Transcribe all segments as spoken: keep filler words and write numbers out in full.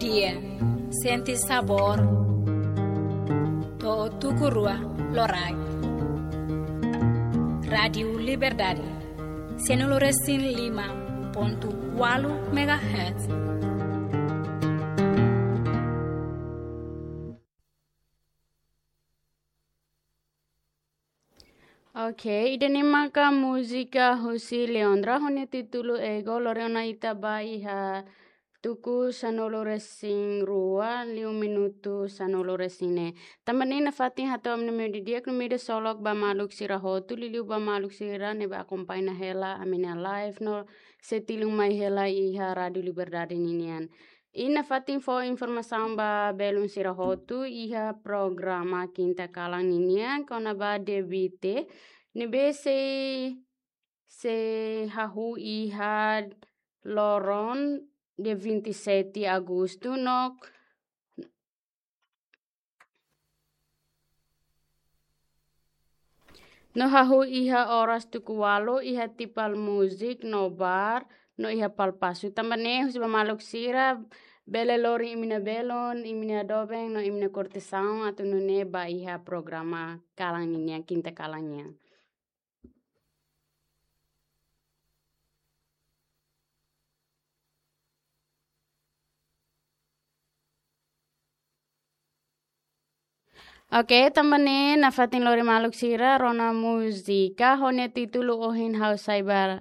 Iya, sente sabór. To'o tuku rua loraik. Rádiu Liberdade, sanulu resin lima pontu ualu megahertz. Ok, ida-ne'e maka múzika husi Leondra ho nia títulu Ego. Lori ona ita ba iha tuku sanulu resin rua, liu minutu sanulu resin neen. Tanba ne'e nafatin hato'o ami-nia meiudia di'ak no meiudia solok ba maluk sira hotu, liuliu ba maluk sira ne'ebé akompaña hela ami-nia live no sei tilun mai hela iha Rádiu Liberdade ninian. I nafatin fó informasaun ba belun sira hotu, iha programa kinta kalan ninian kona-ba debate ne'ebé sei, sei hahú iha loron dia vinte e sete Agostu no, no hahú iha oras tuku ualu iha Tipal Music no Bar no iha Palpasu. Tanba ne'e husu ba maluk sira bele lori imi-nia belun, imi-nia doben no imi-nia kortesaun atu nune'e ba iha programa kalan ninian, kinta kalan nian. Ok, tanba ne'e nafatin lori maluk sira rona múzika ho nia títulu Ohin Ha'u Sai Ba,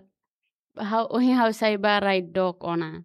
Ha'u, Ohin Ha'u Sai Ba Rai Dook Ona.